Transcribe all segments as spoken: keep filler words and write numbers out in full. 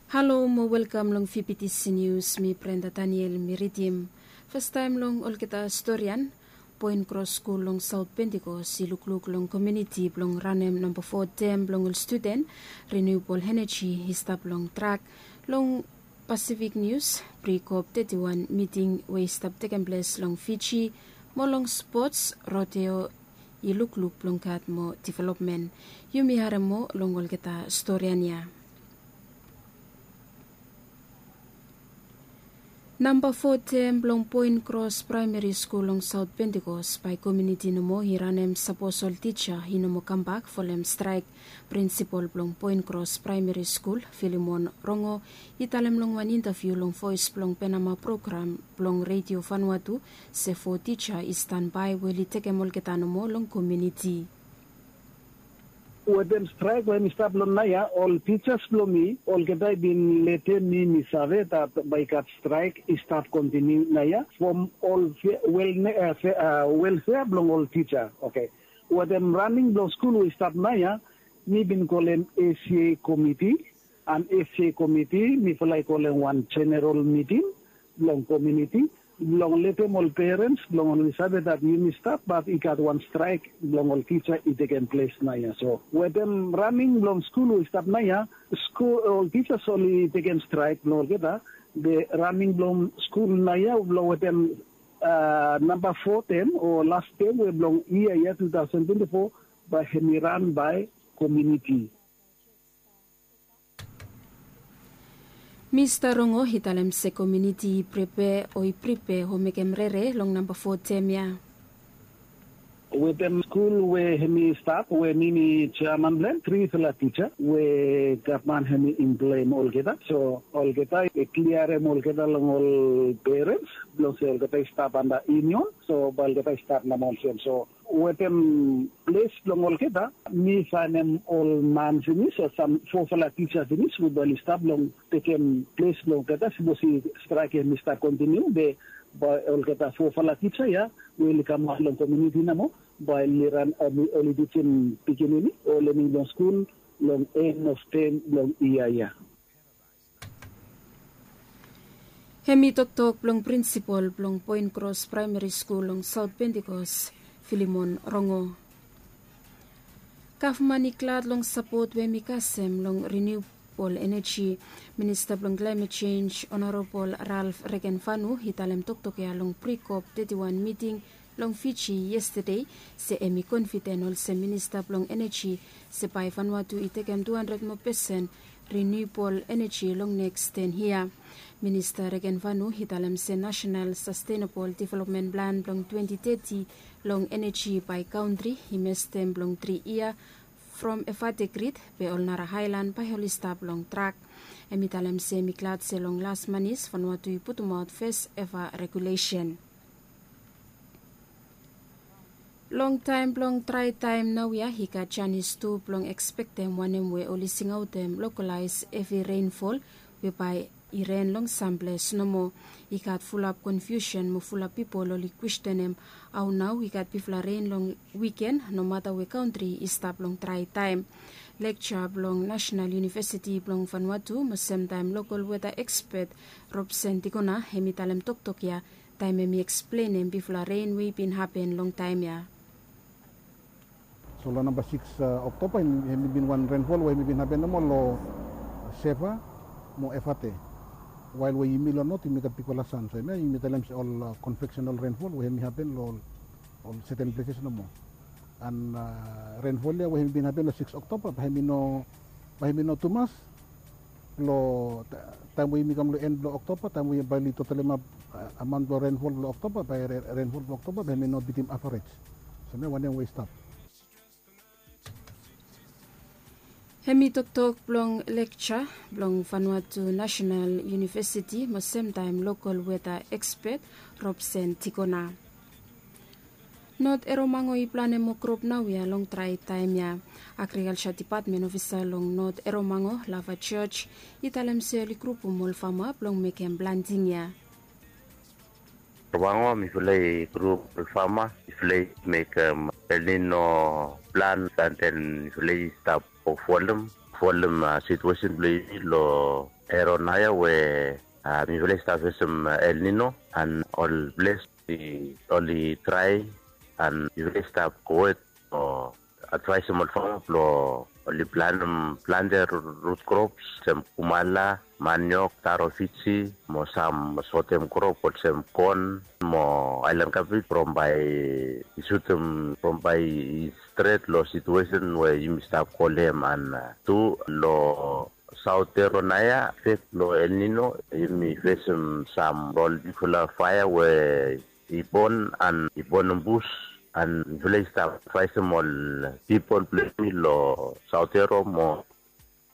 Halo mo welkam long fifty nius. Mi Brenda Daniel mi ridim. Fastaem long olgeta storian. Poen Kros skul long Saot Pentikos i lukluk long komuniti blong ranem namba fo tem blong ol studen. Renewable energy i stap long trak. Long Pasifik Nius, Prikop teti wan miting we i stap tekem ples long Fiji, mo long spots, rodeo i lukluk blong gat mo developmen. Yumi harem mo long olgeta storian ya. Namba fo tem blong Poen Kros Praemeri Skul long Saot Pentikos bae komuniti nomo i ranem sapos ol tija i nomo kambak folem straek. Prinsipol blong Poen Kros Praemeri Skul, Filimon Rongo, i talem long wan intaviu long Voes blong Penama program blong Redio Vanua tu se fo tija i stanbae we oli tekem olgeta nomo long komuniti. Wetem straek we hem i stap long naoia, ol tijas blong mi olgeta i bin letem mi mi save dat bae i gat straek i stap kontiniu naoia from ol welfea blong ol tija. Oke. Wetem raning blong skul we i stap naoia, mi bin kolem A C A komiti, and A C A komiti mifala i kolem wan jeneral miting blong komuniti blong letem ol perens blong oli save dat yumi stap bat i gat wan straek blong ol tija i tekem ples naoia. So wetem raning blong skul we i stap naoia, skul ol tijas oli tekem straek blong olgeta. Be raning blong skul naoia blong wetem namba fo tem o las tem we blong yia ya tu taosen twenti fo, bae hem i ran bae komuniti. Mista Rongo i talem se komuniti i pripea o i pripea o mekem rere long namba fo tem ya. Wetem skul we hem i stap we mi mi jeaman blong hem, trifala tija we gavman hem i emploem olgeta. So olgeta i kliarem olgeta long ol perens blong se olgeta i stap anda yunion. So bae olgeta i stap namba olsem. So wetem ples blong olgeta, mi faenem ol man finis o sam fofala tija finis we bae oli stap blong tekem ples blong olgeta. Sapos i straek hem i stap kontiniu be bae olgeta fofala tija ya we oli kamaot long komuniti nomo bae oli ran, oli tijim pikinini o lening blong skul long en of tem blong yia ya. Hem i toktok blong prinsipol blong Poen Kros Praemeri Skul long Saot Pentikos, Filimon Rongo. Gavman i glad long sapot we hem i kasem long riniubol eneji. Minista blong klaemet jenj, Honorabol Ralf Regenvanu, i talem toktok ya long Prikop teti wan miting long Fiji yestade, se hem i konfiden olsem minista blong eneji se bae Vanuatu i tekem tu handred moa pesen riniubol eneji long neks ten yia. Minista Regenvanu i talem se Nasenal Sastenabol Developmen Plan blong twenti teti long eneji bae kantri i mestem blong tri yia from Evate Grid, be ol nara aelan bae oli stap long trak. Hem i talem se hem i glad se long las manis Vanuatu i putumaot fes eva regulesen. Long taem blong drae taem naoia i gat janis tu blong ekspektem wanem we oli singaotem lokolaes hevi renfol we bae i ren long sam ples nomo. I gat fulap konfiusen mo fulap pipol oli kwestenem hao nao i gat bigfala ren long wiken nomata we kantri i stap long drae taem. Lekja blong Nasenal Yunivesiti blong Vanuatu mo semtaem lokol weta ekspet Robsen Tikona hem i talem toktok ya taem hem i eksplenem bigfala ren we i bin hapen long taem ya. So long namba sikis Oktoba hem i bin wan renfol we hem i bin hapen nomo long Seva mo Evate. Wael we yumi long not yumi gat bigfala san, so hemia yumi talem se ol konveksenal renfol we hem i hapen long ol seten pleses nomo. An renfol ya we hem i bin hapen long sikis Oktoba bae hem i no, bae hem i no tumas long taem we yumi kam long en blong Oktoba, taem we bae oli totalemap amaon blong renfol blong Oktoba, bae renfol blong Oktoba bae hem i no bitim avarej. So hemia wanem we i stap. Hem i toktok blong lekja blong Vanuatu Nasenal Yunivesiti mo semtaem lokol weta ekspet Robsen Tikona. Not Eromango i planem mo krop naoia long drae taem ya. Agrikalja dipatmen ofisa long Not Eromango, Lava George, i talem se oli grupum ol fama blong mekem planting ya. Eromango mifala i grup ol fama, mifala i mekem El Nino plan, an den mifala i stap folem folem situesen blong yumi long ero naoia we mifala i stap fesem El Nino, an ol ples oli trae an mifala i stap gowet long advaesem ol fama blong oli planem plante rut krops olsem kumala, maniok, taro Fiji mo sam sotem krop olsem kon mo aelan kabej from bae i sutem from bae i stret long situesen we yumi stap go long hem. An tu long saotero naoia, efek blong El Nino yumi fesem sam ol bigfala faea we i bon an i bonem bus, an mifala i stap advaesem ol pipol blong yumi long saotero mo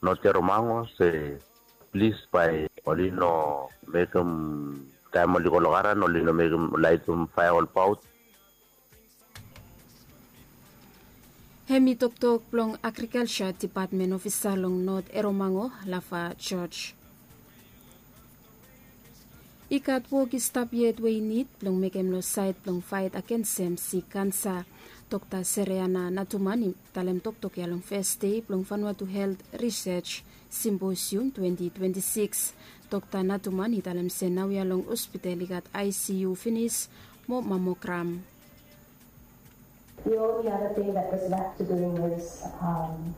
notero mango se plis bae oli no mekem taem oli go long garan oli no mekem laitem faea olbaot. Hem i toktok blong agrikalsa dipatmen ofisa long not eromango, lafa George. I gat wok i stap yet we i nid blong mekem long saed blong faet agensem sik kansa. Dokta Sereana Natuman i talem toktok ya long fes dei blong Vanuatu Helt Risej Simposium twenti twenti sikis. Dokta Natuman i talem se naoia long hospital i gat ICU finis mo mamogram. The only other thing that was left to do was um,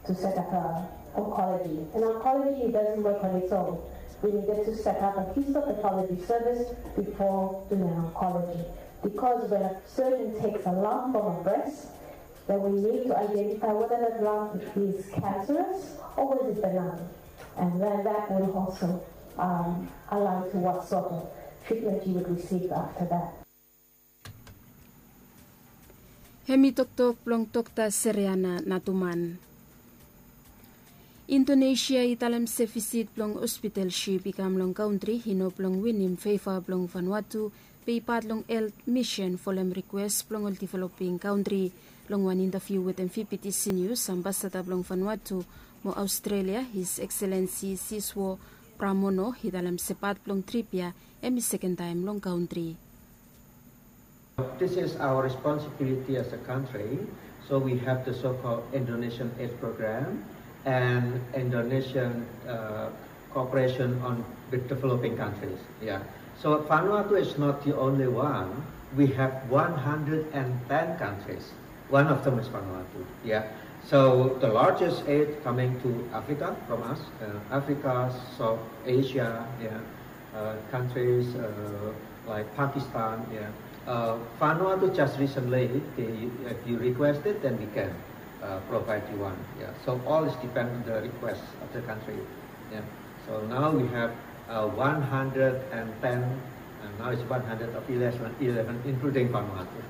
to set up a oncology. And oncology doesn't work on its own. We needed to set up a histopathology service before doing an oncology. Because when a surgeon takes a lump from a breast, then we need to identify whether that lump is cancerous or was it benign. And then that will also um, allow to what sort of treatment you would receive after that. Hem i toktok blong Dokta Sereana Natuman. Indonesia i talem se visit blong hospital sip i kam long kantri i no blong winim feva blong Vanuatu, be i pat long helt misen folem rikwes blong ol developing kantri. Long wan intaviu wetem VPTC News, ambasada blong Vanuatu mo Australia, His Excellency Siswo Pramono, i talem se pat blong trip ya hem i sekentaem long kantri. This is our responsibility as a country. So we have the so-called Indonesian Aid Program and Indonesian uh, cooperation on with developing countries. Yeah. So Vanuatu is not the only one. We have one hundred and ten countries. One of them is Vanuatu. Yeah. So the largest aid coming to Africa from us, uh, Africa, South Asia, yeah, uh, countries uh, like Pakistan. Yeah. Uh, Vanuatu just recently, they, if you request it, then we can uh, provide you one. Yeah. So all is depend on the request of the country. Yeah. So now we have uh, one hundred and ten, and now it's one hundred of eleven, eleven including Vanuatu.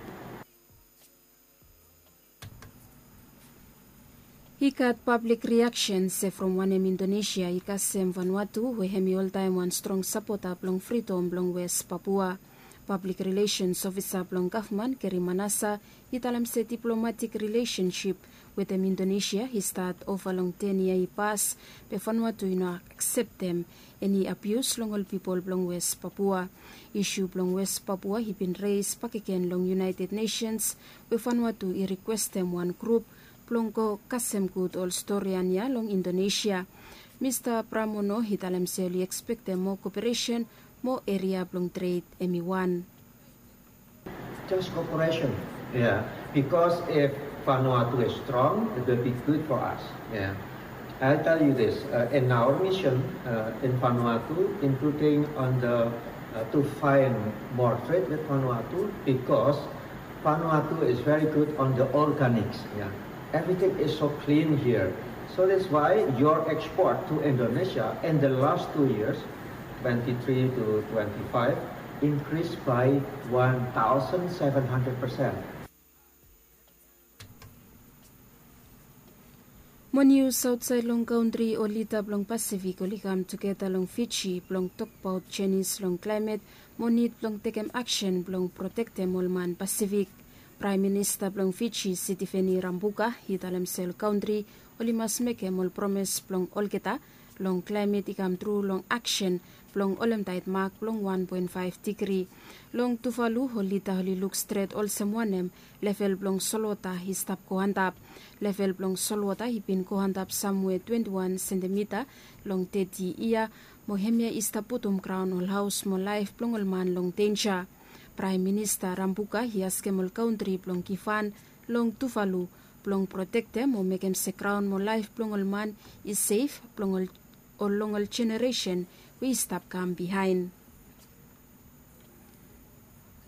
I gat pablik riaksen se from wanem Indonesia i kasem Vanuatu we hem i oltaem wan strong sapota blong fridom blong Wes Papua. Pablik rilesens ofisa blong gavman Keri Manasa i talem se diplomatik rilesensip wetem Indonesia i stat ova long ten yia i pas, be Vanuatu i no akseptem eni abius long ol pipol blong Wes Papua. Isu blong Wes Papua i bin res bakegen long United Nations we Vanuatu i rikwestem wan grup blong go kasem gud ol storian ya long Indonesia. Mista Pramono i talem se oli ekspektem moa koperesen mo eria blong tred hem i wan. Just cooperation. Yeah. Because if Vanuatu is strong, it will be good for us. Yeah. I tell you this, uh, in our mission uh, in Vanuatu, including on the uh, to find more trade with Vanuatu, because Vanuatu is very good on the organics. Yeah. Everything is so clean here. So that's why your export to Indonesia in the last two years, twenty-three to twenty-five, increased by one thousand seven hundred percent. Mo nius aotsaed long kantri, ol lida blong Pasifik oli kam tugeta long Fiji blong tokbaot jenis long klaemet mo nid blong tekem aksen blong protektem ol man Pasifik. Praem Minista blong Fiji, Sitiveni Rabuka, i talem se ol kantri oli mas mekem ol promes blong olgeta Long klaemet i kam tru long aksen blong holem taet mak blong wan poen faef digri. Long Tuvalu ol lida oli luk stret olsem wanem level blong solwota i stap go antap. Level blong solwota i bin go antap samwe twenti wan sentimita long teti yia, mo hemia i stap putum graon ol haos mo laef blong ol man long denja. Praem Minista Rambuka i askem ol kantri blong givhan long Tuvalu blong protektem o mekem se graon mo laef blong ol man i sef blong ol, ol long ol jeneresen we i stap kam bihaen.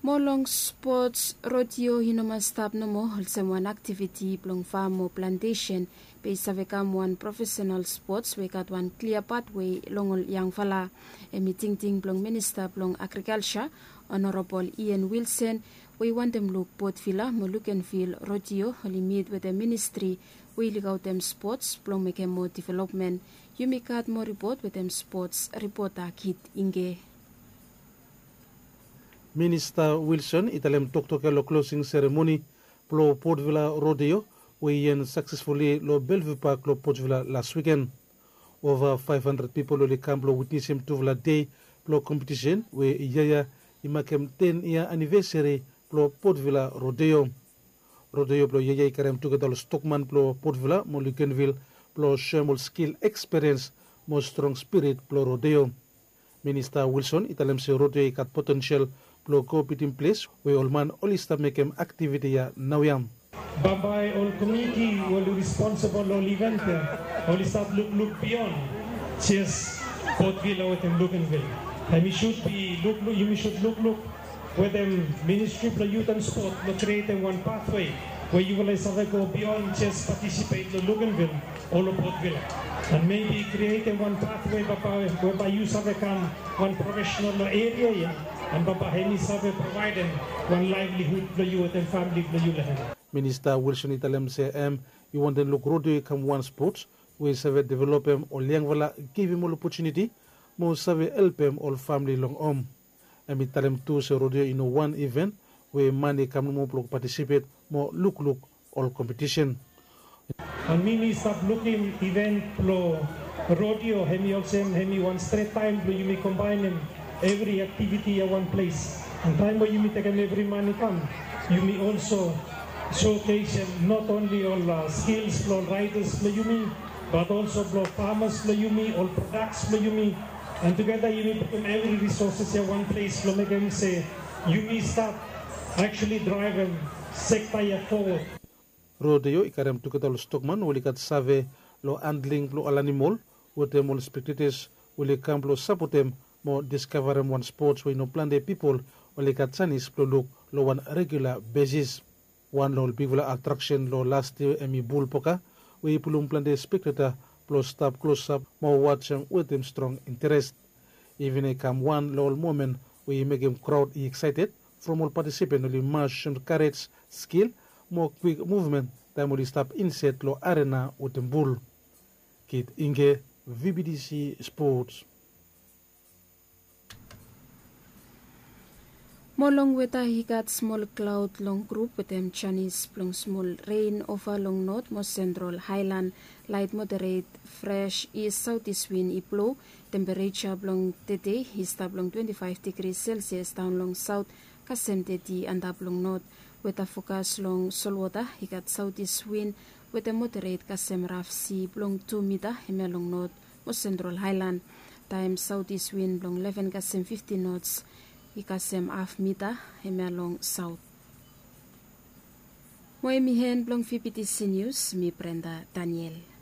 Mo long spots, rodeo i no mas stap nomo olsem wan aktiviti blong fam o plantesen, be i save kam wan profesenal spots we i gat wan klia patwe long ol yangfala. Hemi tingting blong Minista blong Agrikalja, Honorabol Ian Wilson, we i wantem luk Potvila mo Lukenvil rodeo oli mit wetem ministri we i lukaotem spots blong mekem moa developmen. Yumi gat moa ripot wetem spots ripota Kit Inge. Minista Wilson i talem toktok ya long klosing seremoni blong Potvila rodeo we i en saksesfuli long Belviu Pak long Potvila las wiken. Ova faef handred pipol oli kam blong witnesem tufala dei blong kompetisen we yia ya i makem ten yia anivesari blong Potvila rodeo. Rodeo blong yia ya i karem tugeta ol stokman blong Potvila mo Lukenvil blong soem ol skil, eksperiens mo strong spirit blong rodeo. Minista Wilson i talem se rodeo i gat potensel blong go bitim ples we ol man oli stap mekem aktiviti ya naoia. Bambae ol komuniti we oli responsebol long ol iven ya oli stap lukluk bion jes Potvila wetem Lukenvil. Hemi sud bi lukluk, yumi sud lukluk wetem Ministri blong Yut and Spot blong krietem wan patwe we yufala i save go bion jes patisipet long Lukenvil o long Potvila. And mebi krietem wan patwe bambae we bae yu save kam wan profesenal long eria ya, and bambae hemi save provaedem wan laevlihud blong yu wetem famili blong yu long hem. Minista Wilson i talem se hem i wantem luk rodeo i kam wan spots we i save developem ol yangfala, givim ol opotuniti mo save helpem ol famili long hom. Hemi talem tu se rodeo i no wan iven we man i kam nomo blong patisipet mo lukluk ol kompetisen. And mi mi stap lukim iven blong rodeo hemi olsem hemi wan stret taem blong yumi kombaenem evri aktiviti ya wan ples. And taem we yumi tekem evri man i kam, yumi olso showcasem not only ol skils blong ol raedas blong yumi, bat olso blong famas blong yumi, ol prodaks blong yumi. And tugeta yumi putum evri risoses ya wan ples blong mekem se yumi stap actually draevem sekta ya fowod. Rodeo i karem tugeta ol stokman we oli gat save long handling blong ol animol wetem ol spektetas we oli kam blong sapotem mo diskavarem wan spots we i no plante pipol oli gat janis blong luk long wan regula besis. Wan long ol bigfala atraksen long las yia hemi bul poka we i pulum plante spekteta blong stap klosap mo wajem wetem strong interes. Iven i kam wan long ol momen we i mekem kraod i eksaeted from ol patisipen oli mas soem karej, skil mo kwik muvmen taem oli stap insaed long arena wetem bul. Kit Inge, V B D C Sports. Mo long weta i gat smol klaod long grup wetem janis blong smol ren ova long not mo sentral haelan. Laet moderet fres is saotis win i blo. Tempereja blong tede i stap long twenti faef digri selsias daon long saot kasem teti antap long not. Weta fokas long solwota i gat saotis win wetem moderet kasem raf si blong tu mita hemia long not mo sentral haelan. Taem saotis win blong leven kasem fiftin nots i kasem haf mita hemia long saot. Mo hemi en blong V B T C Nius, mi Brenda Daniel.